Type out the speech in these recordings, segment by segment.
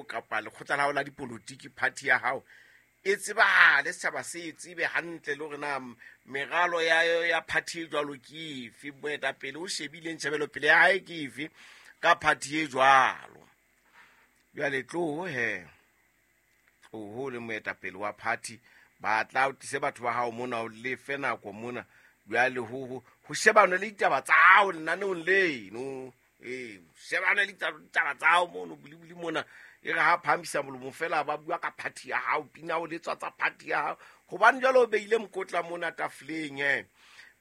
kapa lekgotla la hao la dipolotiki, party ya hao e tsebahale, setjhaba se e tsebe hantle le hore na meralo ya party e jwalo ke efe, moetapele o shebileng tjhebelopele ya hae ke efe ka party e jwalo. Jwale tloho he, tloho le moetapele wa party, ba tla o tlise batho ba hao mona, o lefe nako mona. Jwale ho shebane le ditaba tsa hao lenaneong leno. Shebane le ditaba tsa hao mono bulibuli mona. E re ha phahamisa molomo fela ba bua ka party ya hao, pina o letswa tsa party ya hao. Hobane jwale o beile mokotla mona tafoleng he.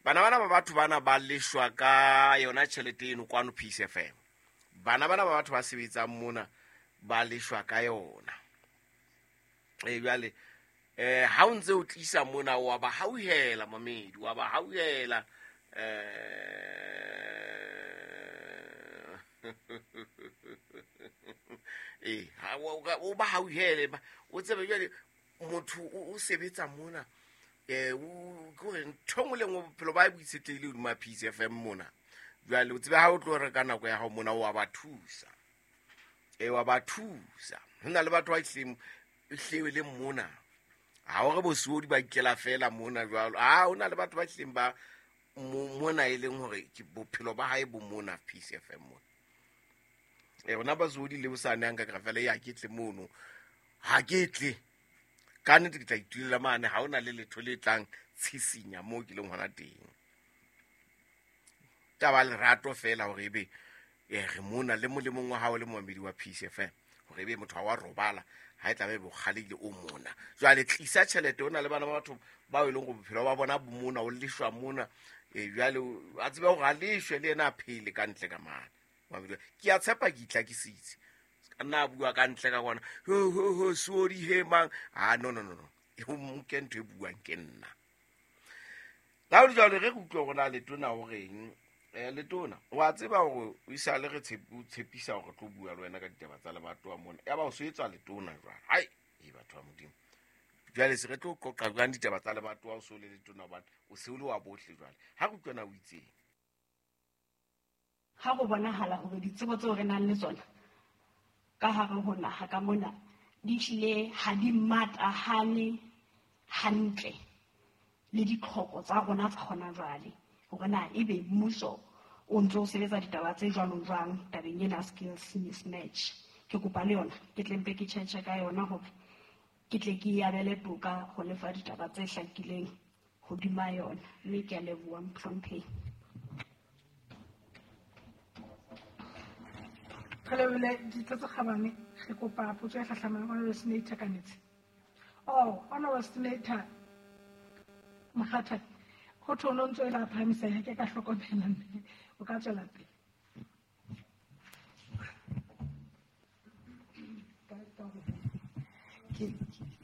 Bana bana ba batho bana ba leshwa ka yona tjhelete eno kwano Peace FM. Bana bana ba batho ba sebetsang mona ba leshwa ka yona. Jwale ha o ntse o tlisa mona wa ba hauhela mamedi, wa ba hauhela. O ba hauhele, o tsebe jwale motho o sebetsa mona, o ke ntho nngwe le nngwe bophelo ba bo itshetlehile hodima Peace FM mona. Jwale o tsebe ha o tlo reka nako ya hao mona, wa ba thusa. Wa ba thusa. Ho na le batho ba hleng le mona. Ha o re bosiodi ba ikela fela mona jwalo. Ha ho na le batho ba hleng ba mona e leng hore ke bophelo ba hae bo mona Peace FM mona. Rona basodi le bosane nka ka fela ya ke tle mono. Ha ke tle. Ka nnete ke tla itulela mane, ha hona le letho le tlang tshisinya moo ke leng hona teng. Taba lerato fela hore ebe re mona le molemong wa hao le moamedi wa Peace FM, hore ebe motho wa robala ha e tla be bokgalehile o mona. Jwale tlisa tjhelete, o na le bana ba batho bao e leng hore bophelo ba bona bo mona, o leshwa mona. Jwale a tsebe hore a leshwe le yena a phele ka ntle ka mane. Ke a tshepa ke itlhakisitse. Ka nna bua ka ntle ka kwana, ho ho ho sorry he mang. Ah no no no no, e ho nke ntho e buang ke nna. La ho jwale re utlwe hore na letona o reng. Letona wa tseba hore o isale re tshepisa hore tlo bua le wena ka ditaba tsa lebatowa mona. Ya ba o so etswa letona jwale. Hai, e batho ba Modimo. Jwale se re tlo qoqa jwang ditaba tsa lebatowa o so le letona, hobane o se o le wa bohle jwale. Ha re utlwe na o itseng. Ha go bonahala hore ditsebo tseo re nang le tsona ka hare ho naha ka mona di hlile ha di matahane hantle le ditlhoko tsa rona tsa hona jwale, hore na ebe mmuso o ntse o sebetsa ditaba tse jwalo jwang tabeng ena skills mismatch. Ke kopa le yona ke tle mpe ke tjhetjhe ka yona hore ke tle ke abele toka ho lefa ditaba tse hlakileng hodima yona, mme ke a leboha mohlomphehi. Re lebile ditho tse kgabane, re kopa potso e hlahlamang Honorable Senator Kanetsi. Oh, Honorable Senator Mokgatha, ho thwe o no ntso e la phahamisa, ha ke ka hlokomela mme o ka tswela pele.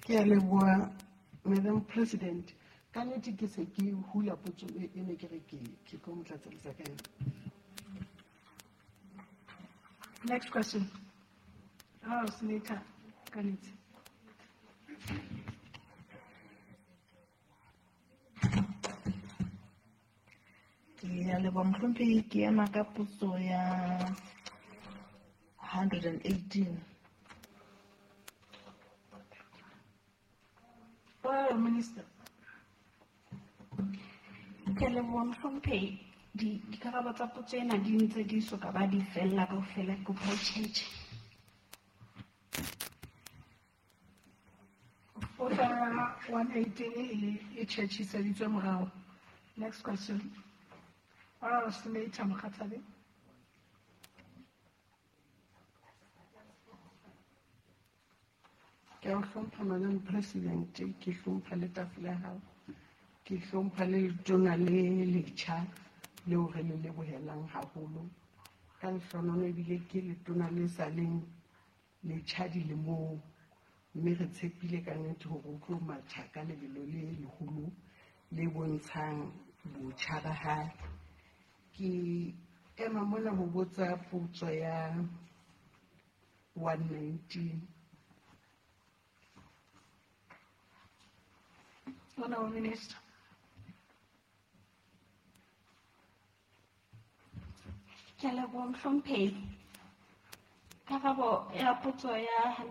Ke a leboha Madam President. Ka nnete ke se ke hula potso e ne ke re ke tlo mo tlatselletsa ka yona. Next question. Oh, Senator Kanetsi. Ke a leboha mohlomphehi, ke ema ka potso ya 118. Oh, Minister. Ke a leboha mohlomphehi. Dikarabo tsa potso ena di ntse di soka ba di fella kaofela, ke kopa o tjhetjhe. Potso ya 118 e tjhetjhiseditswe morao. Next question. Honorable Senator Mokgathabe. Ke a hlompha Madam President, ke hlompha le tafole ya hao, ke hlompha le letona le letjha leo re le lebohelang haholo. Ka lehlohonolo ebile ke letona le sa leng letjha dilemong, mme re tshepile ka nnete hore o tlo matha ka lebelo le leholo le bontshang botjha ba hae. Ke ema mona ho botsa potso ya 119. Honorable Minister. Ke a leboha mohlomphehi. Karabo ya potso ya